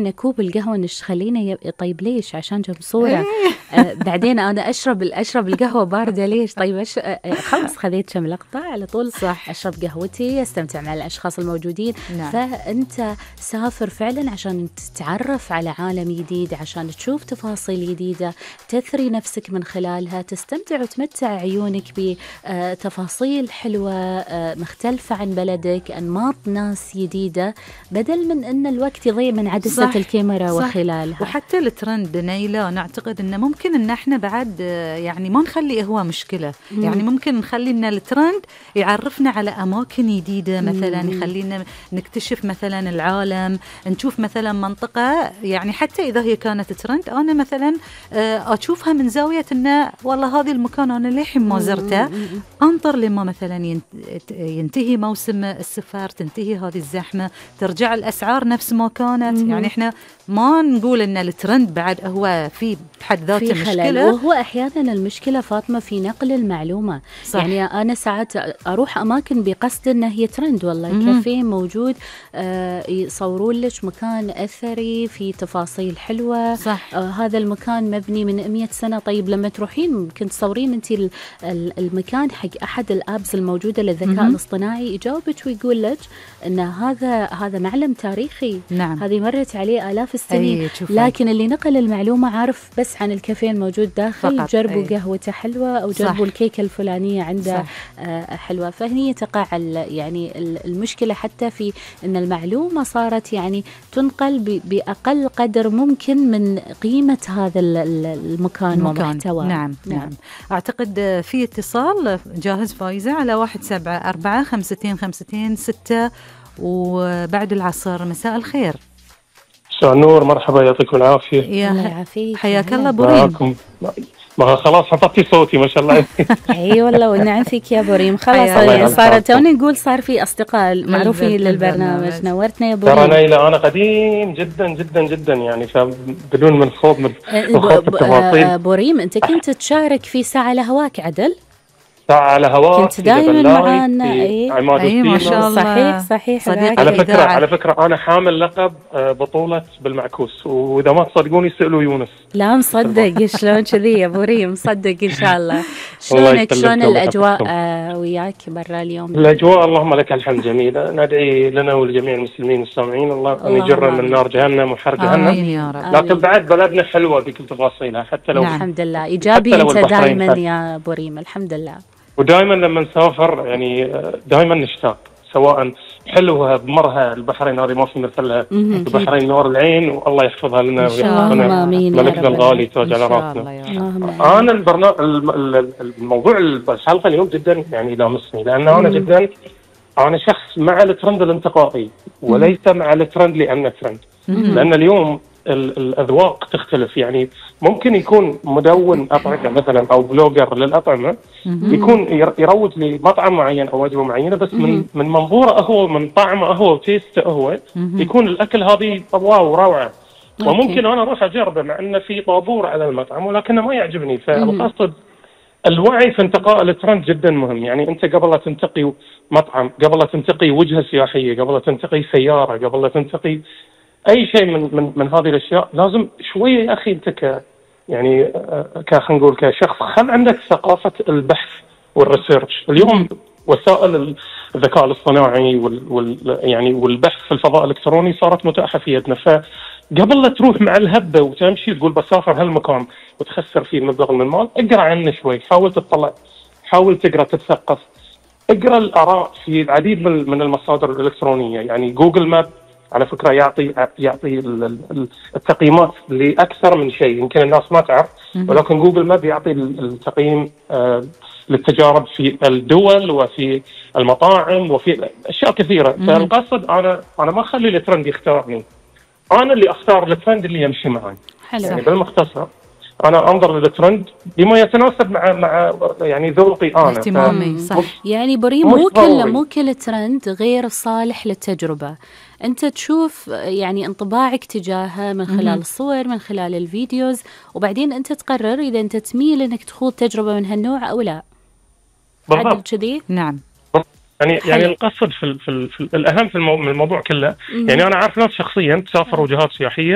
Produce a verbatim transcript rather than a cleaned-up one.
كوب القهوة نش خلينا ي... طيب ليش؟ عشان جنب صورة. آه بعدين أنا أشرب أشرب القهوة باردة ليش؟ طيب أش... آه خلص خذيت كم لقطة على طول صح. أشرب قهوتي، أستمتع مع الأشخاص الموجودين. نعم. فأنت سافر فعلا عشان تتعرف على عالم جديد، عشان تشوف تفاصيل جديدة، تثري نفسك من خلالها، تستمتع وتمتع عيونك بتفاصيل حلوة آه مختلفة عن بلدك، أنماط ناس جديدة، بدل من أن الوقت يضيع من عدسة الكاميرا صح. وخلالها. وحتى الترند نيلة نعتقد أنه ممكن أن احنا بعد يعني ما نخلي هو مشكلة. مم. يعني ممكن نخلي أن الترند يعرفنا على أماكن جديدة مثلا، مم. يخلينا نكتشف مثلا العالم، نشوف مثلا منطقة يعني حتى إذا هي كانت ترند أنا مثلا أشوفها من زاوية أنه والله هذا المكان أنا للحين ما زرته، أنطر لما مثلا ينتهي موسم السفر، تنتهي هذه الزحمة، ترجع الأسعار نفس ما كانت. مم. يعني إحنا ما نقول إن الترند بعد هو في بحد ذاته مشكلة، وهو أحيانا المشكلة فاطمة في نقل المعلومة. صح. يعني أنا ساعات أروح أماكن بقصد إن هي ترند، والله كافيه موجود آه يصورون لك مكان أثري في تفاصيل حلوة. صح. آه هذا المكان مبني من مئة سنة. طيب لما تروحين ممكن تصورين أنت المكان حق أحد الأبز الموجودة للذكاء الاصطناعي، يجاوبك ويقول لك إن هذا هذا معلم تاريخي. نعم. هذه مرت عليه آلاف السنين. لكن اللي نقل المعلومة عارف بس عن الكافيه الموجود داخل، جربوا قهوته حلوة أو جربوا الكيكة الفلانية عنده آه حلوة. فهني تقع يعني المشكلة حتى في أن المعلومة صارت يعني تنقل بأقل قدر ممكن من قيمة هذا المكان ومحتوى. نعم. نعم. نعم. أعتقد في اتصال جاهز فايزة على واحد سبعة أربعة خمستين خمستين ستة وبعد العصر. مساء الخير. مساء النور، مرحبا، يعطيكم العافية. يا الله يعافيك، حياك الله بوريم. ما خلاص حطيتي صوتي ما شاء الله. اي والله والنعم فيك يا بوريم. خلاص يعني صارت توني نقول صار في اصدقاء معروفين للبرنامج. نورتنا يا بوريم. ترى نيلة انا قديم جدا جدا جدا يعني، فبدون من خوض من التفاصيل. بوريم انت كنت تشارك في ساعة لهواك عدل؟ ساعة على هواك كنت دائما معنا. اي أي ما شاء الله. صحيح صحيح. صديق على فكرة على فكرة أنا حامل لقب بطولة بالمعكوس، وإذا ما تصدقوني سألوا يونس. لا مصدق. شلون كذي يا بوريم؟ مصدق إن شاء الله. شلونك؟ شلون الأجواء آه وياك برا اليوم؟ الأجواء اللهم لك الحمد جميلة. ندعي لنا ولجميع المسلمين والسامعين الله أن يجرنا من نار جهنم وحر جهنم. لكن بعد بلدنا حلوة بكل تفاصيلها حتى لو. نعم. الحمد لله إيجابي أنت دائما يا بوريم. الحمد لله. ودائما لما نسافر يعني دائما نشتاق، سواء حلوها بمرها البحرين هذه ما في مثلها، البحرين نور العين والله يحفظها لنا ويحفظنا ملكنا الغالي تاج على راسنا. انا البرنامج الموضوع الحلقه اليوم جدا يعني لامسني، لان انا جدا انا شخص مع الترند الانتقائي وليس مع الترند لانه ترند. لان اليوم الأذواق تختلف، يعني ممكن يكون مدون أطعمة مثلا أو بلوجر للأطعمة يكون يروج لمطعم معين أو وجبة معينة، بس من من منظوره هو، من طعمه هو وتيسته هو، يكون الأكل هذه واو روعة، وممكن أنا أروح أجربه مع أنه في طابور على المطعم ولكنه ما يعجبني. فالقصد الوعي في انتقاء الترند جدا مهم. يعني أنت قبل لا تنتقي مطعم، قبل لا تنتقي وجهة سياحية، قبل لا تنتقي سيارة، قبل لا تنتقي اي شيء من من من هذه الاشياء، لازم شويه يا اخي انت ك يعني ك خلينا نقول كشخص خل عندك ثقافه البحث والريسيرش. اليوم وسائل الذكاء الاصطناعي وال, وال يعني والبحث في الفضاء الالكتروني صارت متاحه في يدنا، فقبل لا تروح مع الهبه وتمشي تقول بسافر هالمكان وتخسر فيه مبلغ من المال، اقرا عنه شوي، حاول تطلع، حاول تقرا، تتثقف، اقرا الاراء في العديد من المصادر الالكترونيه. يعني جوجل ماب على فكرة يعطي يعطي التقييمات لأكثر من شيء يمكن الناس ما تعرف، ولكن جوجل ماب يعطي التقييم للتجارب في الدول وفي المطاعم وفي أشياء كثيرة. فالقصد أنا أنا ما أخلي الترند يختارني، أنا اللي أختار الترند اللي يمشي معي. حلو. يعني بالمختصر أنا أنظر للترند بما يتناسب مع مع يعني ذوقي أنا. اهتمامي صح. يعني بريم مو كل مو كل ترند غير صالح للتجربة. أنت تشوف يعني انطباعك تجاهه من خلال الصور، من خلال الفيديوز، وبعدين أنت تقرر إذا أنت تميل إنك تخوض تجربة من هالنوع أو لا. بالضبط كذي. نعم يعني حلو. يعني القصد في, ال في, ال في ال الاهم في المو... الموضوع كله. مم. يعني انا عارف ناس شخصيا تسافروا وجهات سياحيه